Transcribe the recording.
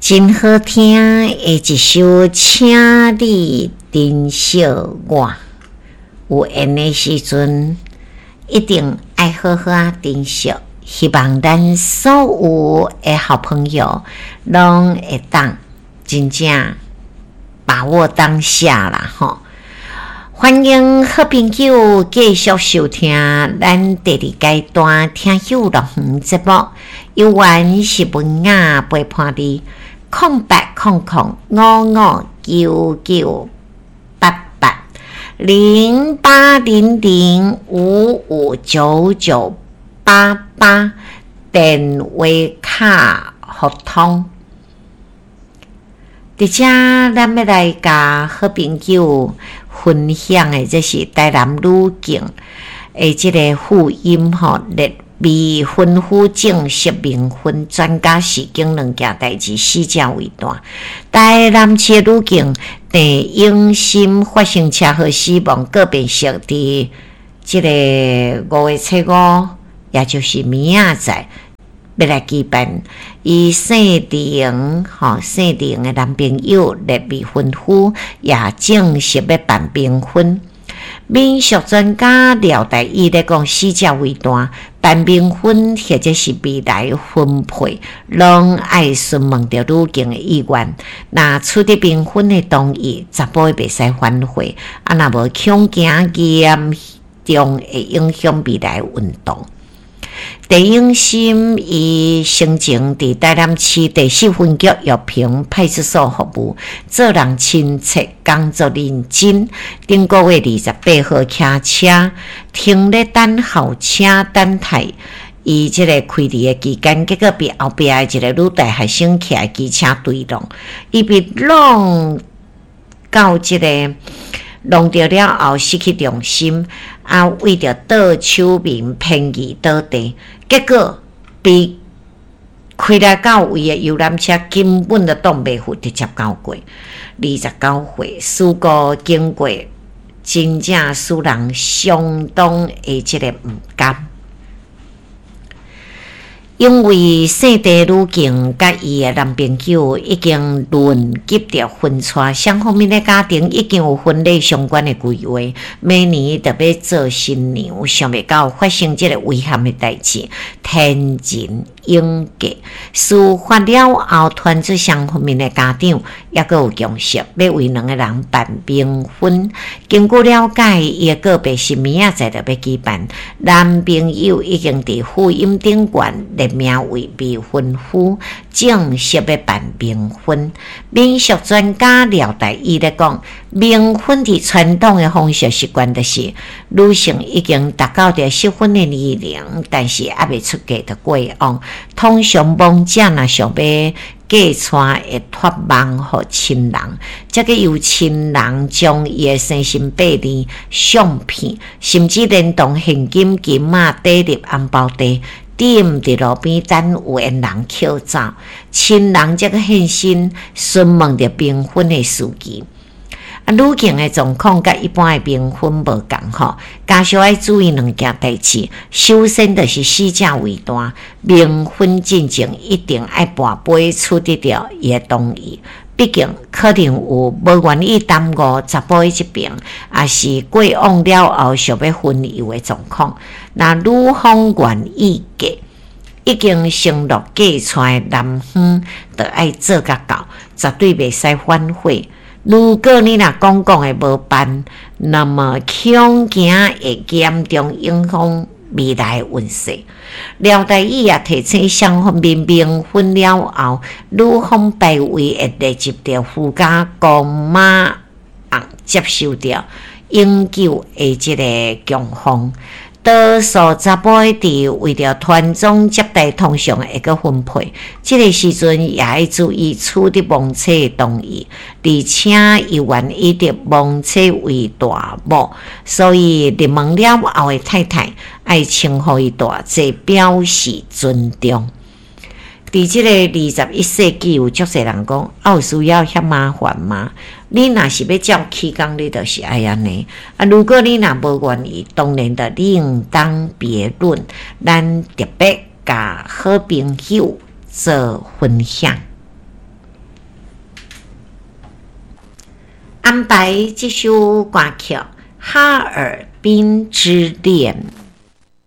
真好聽的一首，請你珍惜我。有緣的時陣，一定愛好好仔珍惜。希望咱所有的好朋友，攏會當真正把握當下啦，吼！歡迎好朋友繼續收聽咱第二階段聽友樂園節目，猶原是文雅陪伴你，0800559988，0800559988，電話卡互通。佇遮，咱欲來共好朋友分享的，這是台南女警的這个婦音吼，列未婚夫正式冥婚，專家示警兩件代誌，死者為大。台南市的女警鄭永心發生車禍死亡，告別式佇這个五月初五，也就是明仔載，欲來舉辦。伊姓林，吼，姓林的男朋友列未婚夫，也正式欲辦冥婚。民俗專家廖大宇咧講，死者為大，辦冥婚或者是未來婚配，攏愛詢問著女警的意願。若取得冥婚的同意，查埔的袂使反悔，啊，若無恐驚嚴重會影響未來運動。鄭永心伊生前佇台南市第四分局玉屏派出所服務，做人親切，工作認真。頂個月28號騎車停咧等候車等待，伊這个開離的期間，結果被後壁的一个女大學生騎機車追撞，伊被撞到這个弄著了後失去重心，啊，為著倒手面偏移倒地，結果被開來到位的遊覽車根本就擋袂住，直接交過。29歲，事故經過真正使人相當的這个毋甘。因為姓鄭女警佮伊的男朋友已經論及著婚娶，雙方面的家庭已經有婚禮相關的規劃，明年就欲做新娘，想袂到發生這个遺憾的代誌，天人永隔。事發了後，傳出雙方面的家長猶閣有共識，欲為兩个人辦冥婚。根據了解，伊的告別式明仔載就欲舉辦，男朋友已經佇婦音頂懸列名為未婚夫，正式欲辦冥婚。民俗專家廖大宇咧講，冥婚佇傳統的風俗習慣，就是女性已經達到著適婚的年齡，但是猶未出嫁就過往。通常亡者若想欲嫁娶，會託夢予親人，才閣由親人將伊的生辰八字、相片，甚至連同現金、金仔、底入紅包袋，點佇路邊等有緣人抾走，親人才閣現身詢問著冥婚的事宜。啊，女警的狀況佮一般的冥婚無仝吼，家屬愛注意兩件代誌。首先就是死者為大，冥婚進前一定愛跋杯取得著伊的同意。畢竟可能有無願意耽誤查埔的這爿，抑是過往了後想欲分遊的狀況。若女方願意嫁，已經承諾嫁娶的男方就愛做甲到，絕對袂使反悔。如果你若講講的無辦，那麼恐驚會嚴重影響未來的運勢。廖大宇也提醒雙方面冥婚了後，女方牌位會列入著夫家公媽翁接受著永久的這个供奉。多數查埔佇為著傳宗接代，通常會閣分配。這个時陣也愛注意取得亡妻的同意，而且伊願意得亡妻為大某，所以入門了後的太太愛稱呼伊大姐，表示尊重。佇這个21世紀，有足濟人講，啊，有需要遐麻煩嗎？你若是欲照起工，你就是愛按呢。啊，如果你若無願意，當然就另當別論。咱特別共好朋友做分享。安排這首歌曲《哈爾濱之戀》。